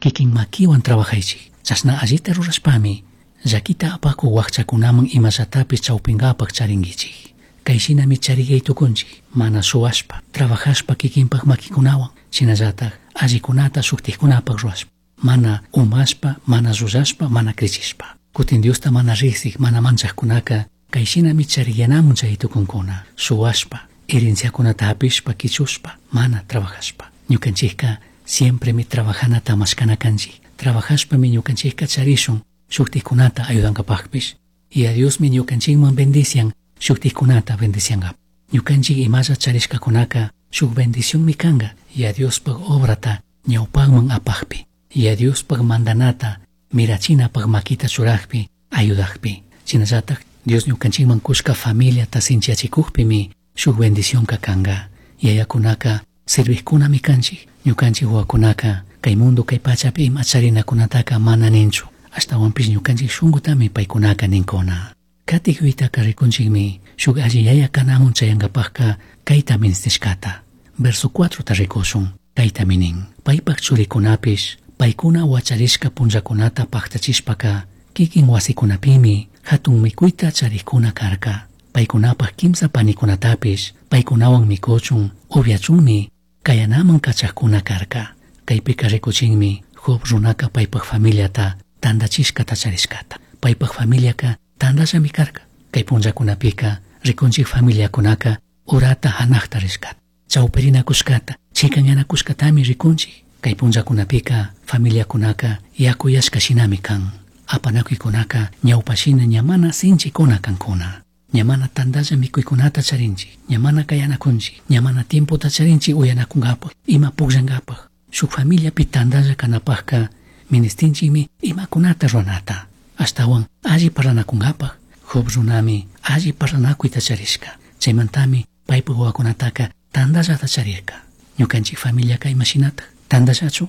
Kikin makiwan trabajaychik. Chashna allita rurashpami llakita apakuq wakchakunaman imallatapish chawpinkapak charinkichik. Kay shinami chariyay tukunchik, mana shuwashpa, trabajashpa kikinpak makikunawan, shinallatak allikunata shuktikkunapak rurashpa, mana umashpa, mana llullashpa, mana krichishpa. Kutin Diosta mana riksik, mana manchakkunaka kay shinami chariyanamun chay tukunkuna, shuwashpa, herenciakunata hapishpa, kichushpa, mana trabajashpa. Ñukanchikka siempremi trabajanata mashkana kanchik. Trabajashpami ñukanchikka charishun shuktikkunata ayudankapakpish. Y a Diosmi ñukanchikman bendician, shuktikkunata bendiciankapa. Ñukanchik imalla charishkakunaka shuk bendicionmi kanka, y a Diospaj obrata ñawpakman apakpi, y a Diospaj mandanata mirachinapaj makita churakpi, ayudakpi. Shinallatak Dios ñukanchikman kushka familiata sinchiyachikukpimi shuk bendicionka kanka. Yayakunaka servijkunami kanchik. Ñukanchik wawakunaka kay mundo kay pachapi ima charinakunataka mana ninchu. Ashtawanpish ñukanchik shunkutami paykunaka ninkuna. Katik yuytaka rikunchikmi shuk alli yaya kanamun chayankapakka kayta ministishkata. Verso 4 ta rikushun, kaytami nin. Paypak churikunapish paykuna wacharishka punllakunata paktachishpaka kikin wasikunapimi hatun mikuyta charikuna karka. Paykunapak kimsa panikunatapish paykunawan mikuchun upyachunmi kayanaman kachakuna karka. Kaypika rikuchinmi Job runaka paypak familiata tandachishkata charishkata. Paypak familiaka tandallami karka. Kay punllakunapika rikunchik familiakunaka urata hanakta rishkata. Chawpirinakushkata, chikanyanakushkatami rikunchik. Kay punllakunapika familiakunaka yakuyashka shinami kan. Apanakuykunaka ñawpashina ña mana sinchikuna kankuna. Ña mana tandalla mikuykunata charinchik, ña mana kayanakunchik, ña mana tiempota charinchik uyanakunkapak, ima pukllankapak. Shuk familiapi tandalla kanapakka ministinchikmi imakunata ruranata. Ashtawan alli parlanakunkapak, Job runami alli parlanakuyta charishka. Chaymantami paypak wawakunataka tandallata charirka. Ñukanchik familiaka imashinatak? Tandallachu?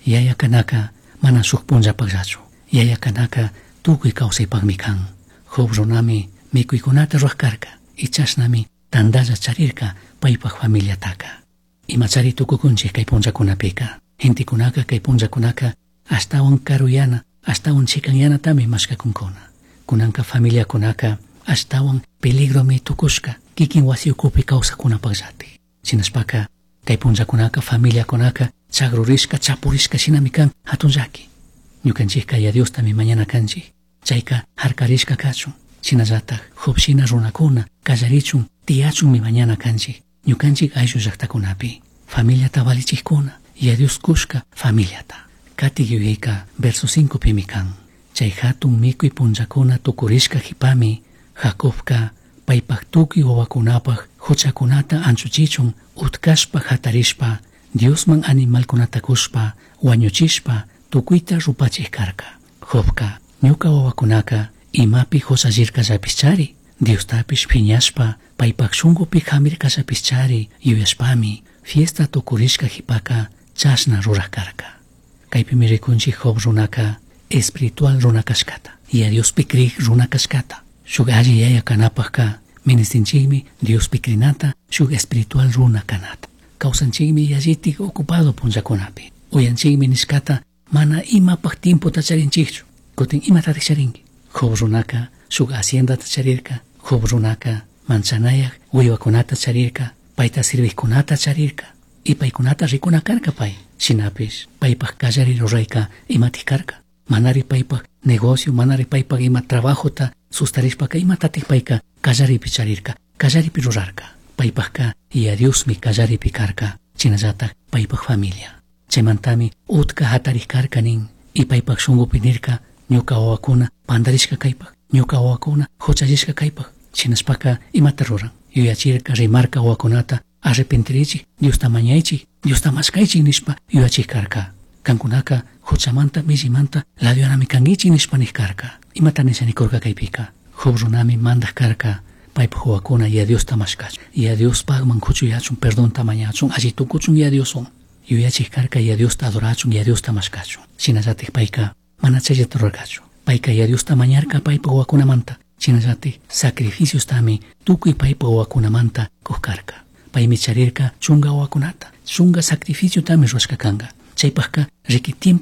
Yaya kanaka mana shuk punllapakllachu. Yaya kanaka tukuy kawsaypakmi kan. Job runami mikuykunata rurak karka. Y chashnami tandalla charirka paypak familiataka. Imachari tukukunchik kay punllakunapika. Gentekunaka kay punllakunaka ashtawan karuyana, ashtawan chikanyanatami mashkakunkuna. Kunanka familiakunaka ashtawan peligromi tukushka kikin wasi ukupi kawsakunapakllatik. Shinashpaka kay punllakunaka familiakunaka chagrurishka, chapurishka shinami kan hatun llaki. Ñukanchikka ya Diostami mañana kanchik. Chayka harkarishka kachun. Shinallatak Job shina runakuna kallarichun tiyachunmi mañana kanchik. Ñukanchik ayllu llaktakunapi. Familiata valichikkuna, ya Dios kushka familiata. Katik yuyayka verso 5 pimi kan. Chay hatun mikuy punllakuna tukurishka hipami Jacobka paypak tukuy wawakunapak huchakunata anchuchichun utkashpa hatarishpa Diosman animalkunata kushpa wañuchishpa tukuyta rupachik karka. Jobka ñuka wawakunaka imapi huchallirkallapishchari Diostapish phiñashpa paypak shunkupi hamirkallapishchari yuyashpami fiesta tukurishka hipaka chashna rurak karka. Kaypimi rikunchik Job runaka espiritual runa kashkata y a Diospi krik runa kashkata. Shuk alli yaya kanapakka ministinchikmi Diospi krinata shuk espiritual runa kanata. Kawsanchikmi yallitik ocupado punllakunapi. Uyanchikmi nishkata mana imapak tiempota charinchikchu. Kutin imatatik charinki. Job runaka shuk haciendata charirka. Job runaka manchanayak wiwakunata charirka. Payta sirvijkunata charirka. Y paykunata rikuna karka pay. Shinapish paypak kallari rurayka imatik karka. Manari paypak negocio, manari paypak ima trabajota sustarishpaka imatatik payka kallaripi charirka, kallaripi rurarka. Paypakka ya Diosmi kallaripi karka, shinallatak paypak familia. Chaymantami utka hatarik karka nin, y paypak shunkupi nirka ñuka wawakuna pandarishka kaypak, ñuka wawakuna huchallishka kaypak. Shinashpaka imata ruran, yuyachirka rimarka wawakunata arrepentirichik, Diosta mañaychik, Diosta mashkaychik nishpa yuyachik karka. Kankunaka huchamanta millimanta ladyanami kankichik nishpa nik karka. Imata nisha nikurka kaypika. Job runami mandak karka paypak wawakuna ya Diosta mashkachun, ya Diospakman kuchuyachun, perdonta mañachun, alli tukuchun ya Dioswan. Yuyachik karka ya Diosta adorachun, ya Diosta mashkachun. Shinallatik payka mana chayllata rurarkachu. Payka ya Diosta mañarka paypak wawakunamanta. Shinallatik sacrificiostami tukuy paypak wawakunamanta kuq karka. Paymi charirka chunka wawakunata, chunka sacrificiotami rurashka kanka. Chaypakka riki tiempo